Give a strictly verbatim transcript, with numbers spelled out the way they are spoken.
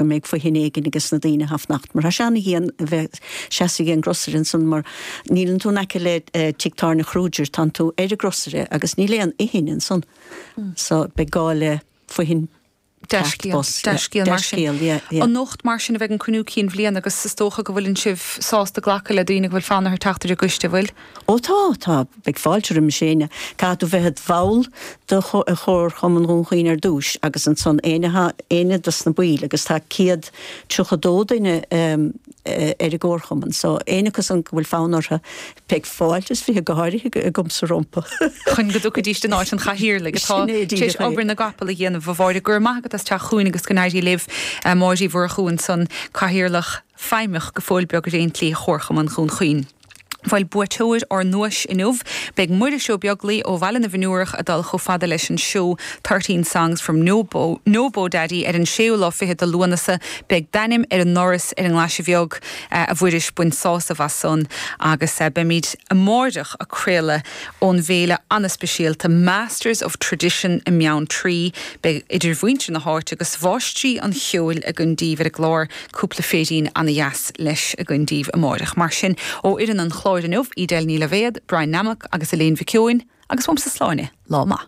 Go mbeidh fothain éigin ages na daoine atá ag fanacht, mar tá sé ana-dhian a bheith seasamh ag an gcrosaire ansan mar níleann tú in aice le tigh tábhairne Kruger, tánn tú ar an gcrosaire agus níl aon fhothain ansan. So beidh gá le fothain. Dea-scéal mar sin. Anocht mar sin a bheidh an cruinniú cinn bhliana agus is dócha go bhfuileann sibh sásta glacadh le daoine go bhfuil fonn orthu teacht ar an gcoiste, bhfuil? Ó tá, tá, beidh fáilte roimis éinne. Caithfidh tú bheith id bhall de Chomharchumann Dhún Chaoin ar dtúis agus ansan éinne éinne dos na baill agus tá céad tríocha dó duine ar an gComharchumann so éinne acu san go bhfuil fonn orthu beidh fáilte is fiche go háirithe agamsa rompu. Chun go dtiocfaidís in áit an chathaoirligh atá Sin é tar éis díreach é. obair na gcapall a dhéanamh. A Mháire, go raibh maith agat as teacht chugainn agus go n-éirí libh. Máire Uí Mhurchú ansan, Cathaoirleach Feidhmeach go fóill beag ar aon tslí Chomharchumann Dhún Chaoin. Bhuel, buaiteoir ár nduais inniu, beidh Muiris Ó Beaglaoi ó Bhaile na bhFionnúrach ag dul chomh fada leis an seó Thirteen Songs from No Bo, No Bo Daddy ar an séú lá fichead de Lúnasa. Beidh d'ainm ar an ndoras ar an nGlaise Bheag, a Mhuiris, bain sásamh as san agus beimid amáireach ag craoladh ón bhféile an-speisialta Masters of Tradition i mBeanntraí. Beidh idir mhuintir na háite agus mháistrí an cheoil againn daoibh ar an gclár, cúpla féirín ana-dheas leis againn daoibh amáireach. Mar sin, ó fhoireann an chláir inniu, Edel Ní Loibhéad, Brian Nammock agus Elaine Mhic Eoin, agus uaimse Sláine, lá maith.